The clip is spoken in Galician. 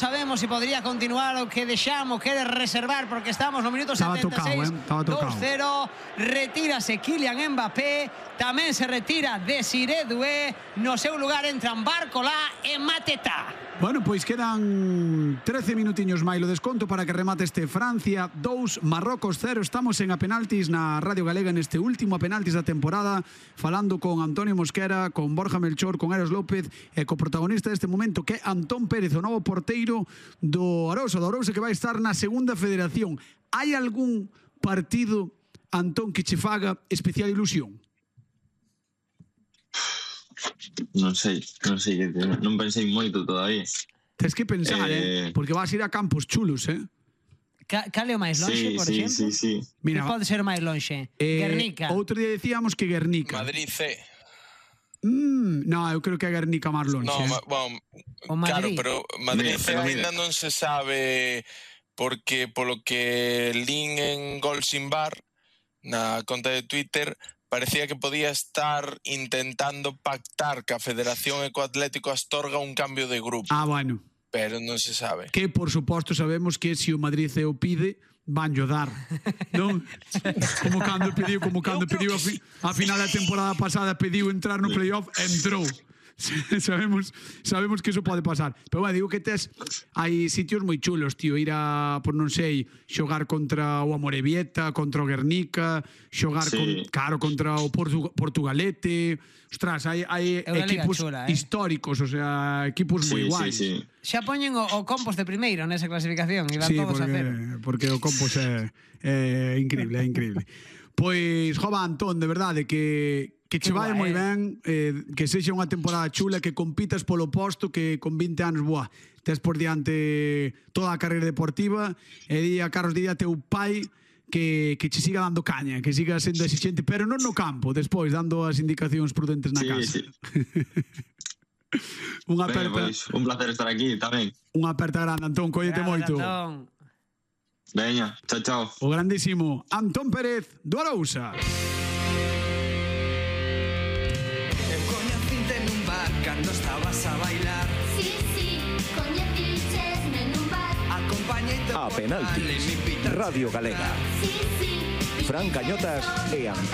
Sabemos si podría continuar o que deixamos, quere reservar, porque estamos no minuto 76. Estaba tocado. 2-0, retírase Kylian Mbappé, tamén se retira Desiré Doué, no seu lugar entran Barcola e Mateta. Bueno, pois quedan 13 minutiños máis o desconto para que remate este Francia 2, Marrocos 0. Estamos en A Penaltis na Radio Galega neste último A Penaltis da temporada, falando con Antonio Mosquera, con Borja Melchor, con Eros López e co protagonista deste momento que é Antón Pérez, o novo porteiro do Arousa que vai estar na segunda federación. Hai algún partido, Antón, que che faga especial ilusión? Non sei, non pensei moito todavía. Tens que pensar, porque vas ir a campos chulos, Cal é o máis lonxe, por exemplo? Sí. Mira, pode ser o máis lonxe? Guernica. Outro día decíamos que Guernica. Madrid C. No, eu creo que é Guernica máis lonxe. No, claro, pero Madrid C ainda non se sabe, porque polo que lin en Gol Sin Bar na conta de Twitter, parecía que podía estar intentando pactar que a Federación e co Atlético Astorga un cambio de grupo. Bueno. Pero non se sabe. Que, por suposto, sabemos que se o Madrid se o pide, vanllo dar, non? Como cando pediu a final da temporada pasada, pediu entrar no playoff, entrou. Sabemos que iso pode pasar. Pero bueno, digo que hai sitios moi chulos, tío, ir a, por non sei, xogar contra o Amorebieta, contra o Guernica, xogar contra o Portugalete. Ostras, hai equipos históricos, o sea, equipos moi guais. Xa poñen o Compos de primeiro nesa clasificación e van todos a cero. Porque o Compos é increíble, Pois, jova, Antón, de verdade, que che vai moi ben, que sexa unha temporada chula, que compitas polo posto, que con 20 anos, tes por diante toda a carreira deportiva, e di a Carlos Díaz, teu pai, que che siga dando caña, que siga sendo exigente, pero non no campo, despois, dando as indicacións prudentes na casa. Sí. Unha aperta... Un placer estar aquí tamén. Unha aperta grande, Antón, cóllete moito. Veña, chao. O grandísimo Antón Pérez do Arousa. Cando estabas a bailar. Sí, coñecichesme nun bar. Acompañeite A Penaltis, Radio Galega. Sí. Fran Cañotas e Antón